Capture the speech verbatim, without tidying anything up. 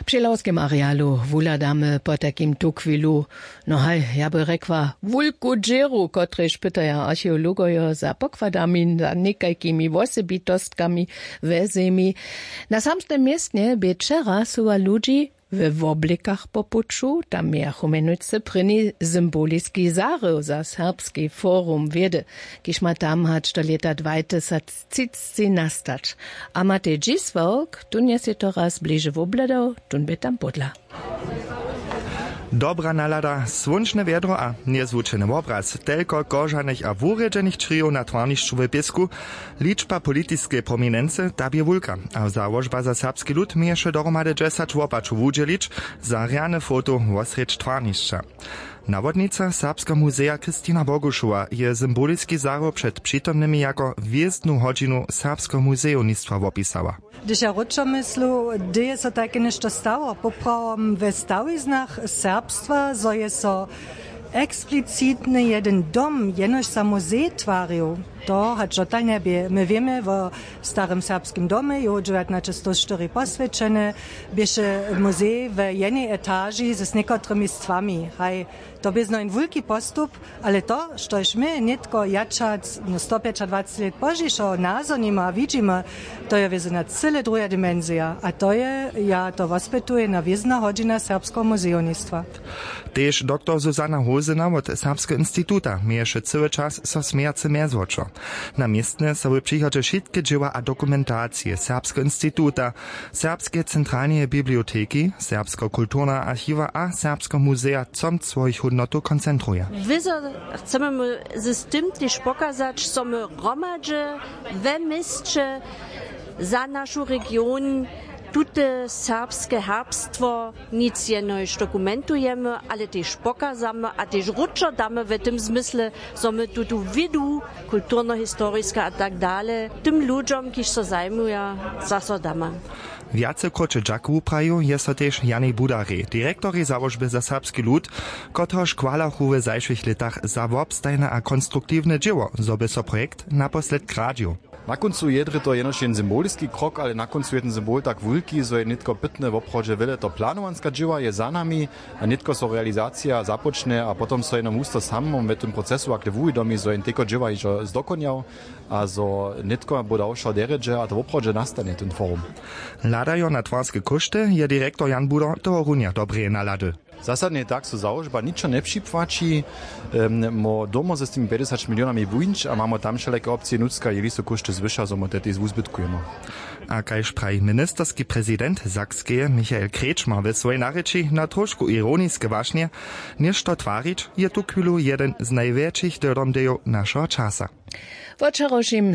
Při lawskem arealu wuhladamy potajkim tuchwilu, no haj, ja by rjekła, wulku dźěru, kotrež pytaja archeologojo za pokładami, za někajkimi wosebitostkami we zemi. Na samsnym městnje bě wčera suwa ludźi we woblekach po puću. Tam mějachu mjenujcy prěni symboliski zarył za serbski forum wědy, kiž ma tam hač do lěta dwajtysactřicci nastać. A matej dźisławk tón je sej to raz bliže wobhladał, tón bě tam pódla. Dobra nalada, słónčne wjedro a njezwučeny wobraz, telko kožanych a wurjedźenych črijow na twarnišću w pěsku. Ličba politiskeje prominency, ta bě wulka, a załožba za serbski lud měješe dohromady dźesać wopačow wudźělić za rjane foto wosrjedź twarnišća. Nawodnica serbskeho muzeja Kristina Bogušowa je symboliski zarył před přitomnymi jako hwězdnu hodźinu serbskeho muzejownictwa wopisała. Hdyž ja wróćo myslu, hdy je so tajke něšto stało poprawom we stawiznach serbstwa, zo je so eksplicitny jedyn dom jenož za muzej twarił? To hač dotal njebě. My wěmy wo starym serbskim domje, jow dźewjatnaćestowštyri poswjećeny, běše muzej we jenej etaži z někotrymi stwami. Haj, to bě znojn wulki postup. Ale to, štož my nětko jatřac no stopjećadwaceći lět pozdźišo nazhonimy a widźimy, to je wězo na cyle druha dimensija, a to je, ja to wospytuju, na wězna hodźina serbskeho muzejownictwa. Tež doktor Susanna Hosena wot Serbskeho instituta měješe cyły čas so smějace mjezwočo. Na městnje so w přichodźe wšitke dźěła a dokumentacije Serbskeho instituta, Serbskeje centralneje biblioteki, Serbskeho kulturneho archiwa a Serbskeho muzeja comc swojich hódnotow koncentruje. Wězo chcemy my z tym tež pokazać, zo my hromadźe we měsće za našu region tute serbske herbstwo nic jenož dokumentujemy, ale tež pokazamy a tež wróćo damy w tym zmysle, zo my tutu wědu kulturnohistoriska a tak dale tym ludźom, kiž so zajmuja, zaso damy. Wjace króće dźakowu prajił je so tež Janej Budarej, direktorej załožby za serbski lud, kotrehož chwalachu w zašłych lětach za wobstajne a konstruktiwne dźěło, zo by so projekt naposledk radźił. Na kóncu je drje to jenož jen symboliski krok, ale na kóncu je ten symbol tak wulki, zo je nětko pytne woprawdźe wjele to planowanska dźěła je za nami, a nětko so realizacija započnje a potom so jenož husto samom w tym procesu akle wuwidomi, zo je nětko dźěła hižo zdokonjał, a zo nětko bo dał wšo derjedźe a to woprawdźe nastanje ten forum. Hladajo na twarske kóšty je direktor Jan Budo tohorunja dobreje nalady. Zasadnje tak so załožba ničo njepřipłaći. Mo domo z tymi pjećdźesać milionami wuńć a mamo tam wšelake opcije nutřka jeli so kóšty zwyša zo mo te tež wuzbytkujemo. A kaž praji ministerski prezident sakskeje michael krečmar w swojej narěči na trošku ironiske wašnje, něšto twarić je tuchwilu jedyn z najwjetšich dyrdomdejow našeho časa. Wo wčerawšim